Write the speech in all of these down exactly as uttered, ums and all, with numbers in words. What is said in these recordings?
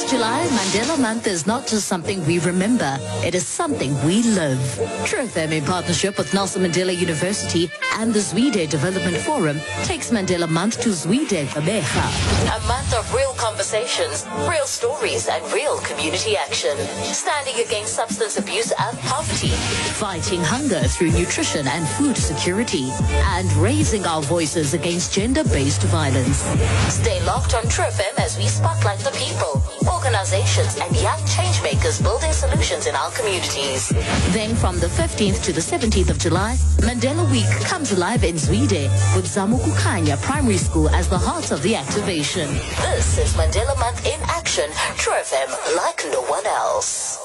This July, Mandela Month is not just something we remember, it is something we live. True F M, in partnership with Nelson Mandela University and the Zwide Development Forum, takes Mandela Month to Zwide Gqeberha. A month of real conversations, real stories, and real community action. Standing against substance abuse and poverty, fighting hunger through nutrition and food security, and raising our voices against gender-based violence. Stay locked on True F M as we spotlight the people, organizations, and young changemakers building solutions in our communities. Then from the fifteenth to the seventeenth of July, Mandela Week comes alive in Zwide with Zamukukhanya Primary School as the heart of the activation. This is Mandela Month in action. True F M, like no one else.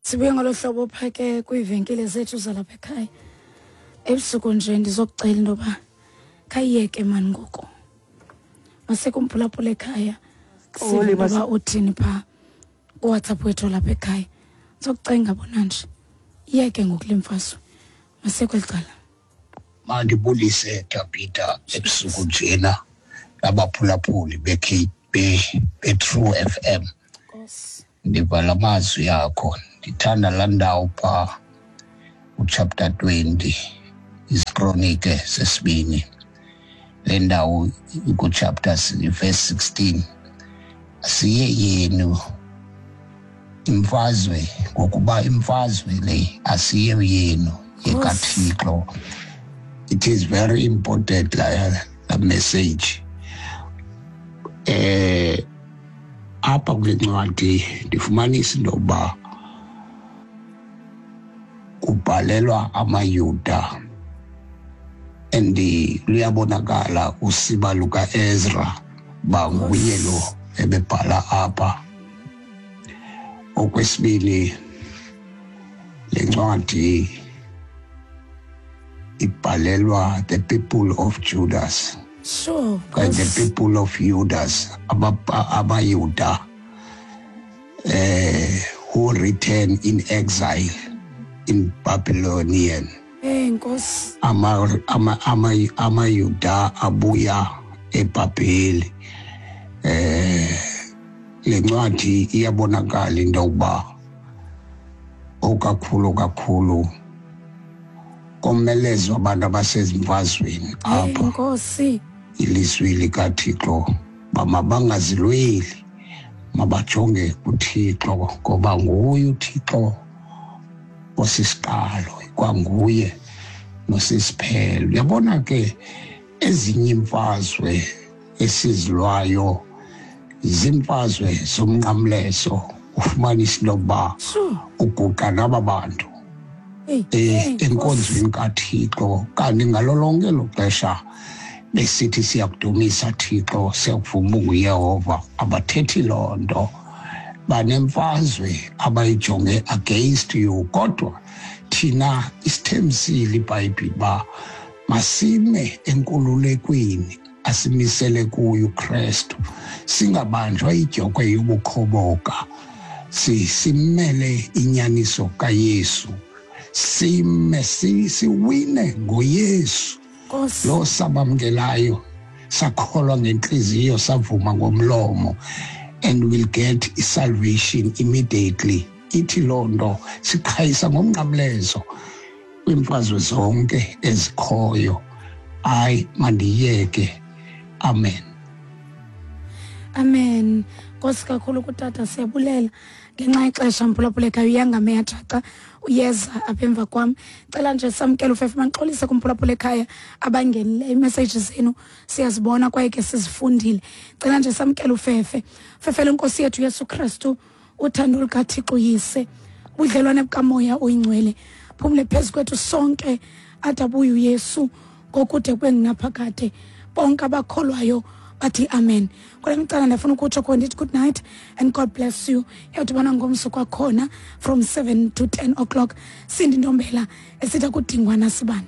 Sibuye ngolo hlobo phake kwiivenkile zethu zalapha ekhaya. Ebusuku nje ndizokucela into yoba khayiyeke mani ngoku. Masekumphulaphula ekhaya. Sive into yoba uthini phaa kuWhatsApp wethu lapha ekhaya. Ndizokucenga bona nje. Iyeke ngoku le mfazwe. Masekweli cala. Mandibulise Tabitha ebusuku njena nabaphulaphuli be-True F M. Ndiva la mazwi akho, ndithanda laa ndawo phaa uchapter twenty, iziKronike sesibini. Le ndawo ikuchapter verse sixteen. Asiye yenu imfazwe, ngokuba imfazwe le asiye yenu yekaThixo. It is very important la, la message. Eh apha kule ncwadi ndifumanisa into yokuba kubhalelwa amaYuda, and luyabonakala usiba lukaEzra uba nguye lo ebebhala apha. Okwesibini, le ncwadi ibhalelwa the people of Judas. Sure. And the people of Judas, abaYuda, eh, who return in exile in Babylonian. Eh, Nkosi. Ama ama ama amaYuda abuya eBhabheli. Eh, le ncwadi iyabonakala into yokuba okakhulu kakhulu komelezwa abantu abasezimfazweni apha. Nkosi. Ilizwi likaThixo bamabangazilweli, mabajonge kuThixo, ngoba nguye uThixo osisiqalo, kwanguye nosisiphelo. Uyabona ke ezinye imfazwe esizilwayo zimfazwe zomnqamlezo, ufumanisa into yokuba uguqa naba bantu enkonzweni kaThixo, kanti ngalo lonke elo xesha besithi siyakudumisa Thixo, siyakuvuma unguYehova, abathethi loo nto. Banemfazwe abayijonge against you, kodwa thina isithembisile iBhayibhile uba masime enkululekweni asimisele kuyo uKristu, singabanjwa idyokhwe yobukhoboka, simele inyaniso kaYesu, sime siwine ngoYesu lo sabamkelayo, sakholwa ngenhliziyo, savuma ngomlomo, and we'll get salvation immediately. Ithi loo nto siqhayisa ngomnqamlezo kwiimfazwe zonke ezikhoyo. Hayi, mandiyeke. Amen. Amen. Nkosi kakhulu kutata, siyabulela ngenxa yexesha mphulaphula ekhaya. Uyangame yajaca uyeza apha emva kwam. Cela nje samkele ufefe, mandixolise kumphulaphula ekhaya abangenileyo, iimessage zenu siyazibona kwaye ke sizifundile. Cela nje samkele ufefe. Fefe lenkosi yethu Yesu Kristu, uthando lukaThixo Uyise, ubudlelwane bukaMoya oyiNgcwele phumle phezu kwethu sonke ade abuye uYesu ngokude kube ngunaphakade. Bonke abakholwayo bathi amen. Kule micala ndifuna ukutsho khona ndithi good night and God bless you. Iyawudibana ngomso kwakhona from seven to ten o'clock. Sindi Ntombela esithi akudingwa nasibani.